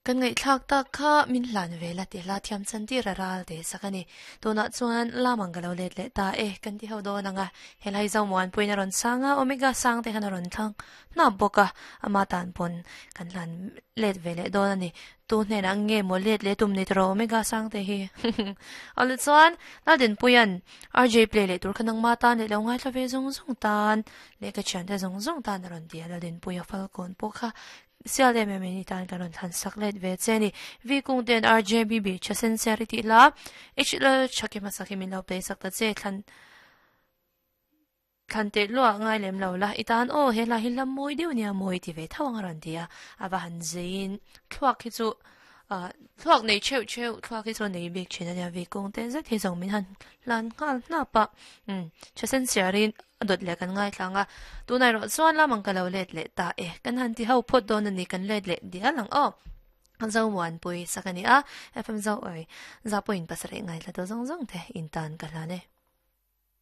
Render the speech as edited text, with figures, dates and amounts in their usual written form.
Kan ngaihthlak tak kha min hlan ve la ti hla thiam chan tir a ral te sak a ni. Tunah chuan lam ang ka lo let leh ta e, kan ti ho dawn ang a. Helai Zomuanpuiin a rawn sang a, Omega sang te khan a rawn thlang hnap bawk a, ama tan pawn kan hlan let ve leh dawn a ni. Tu hnenah nge maw let leh tum ni tawh Omega sang te hi. Awle chuan Laldinpuia'n RJ play leh tur kha nangma tan leh lo ngaithla ve zung zung tan leh ka thiante zung zung tan a rawn ti a, Laldinpuia Falkawn pawh kha Sial em em in i tan kan rawn thlan sak let ve che a ni. V kung ten RJBB tha sen siar i tih la, H lal tha ki hmasa khi min lo play sak ta che, thlan thlan teh luah ngai lem lo la, i tan aw he hla hi hla mawi deuh nia mawi ti ve tho ang a rawn ti a, a va han zeiin thluak hi chu ah thluak nei theuh theuh thluak hi chu a nei bik thin a nia V kung ten zet hi zawng min han hlan nghal hnap a, umm tha sen siarin A dawt leh kan ngaithlang a, tunah erawh chuan lam ang ka lo let leh ta e. Kan han ti ho phawt dawn a ni, kan let leh dial ang aw. Zomuanpui sak a ni a, FM Zo awi za pawhin pasarih ngaithla tu zawng zawng te in tan ka hlan e.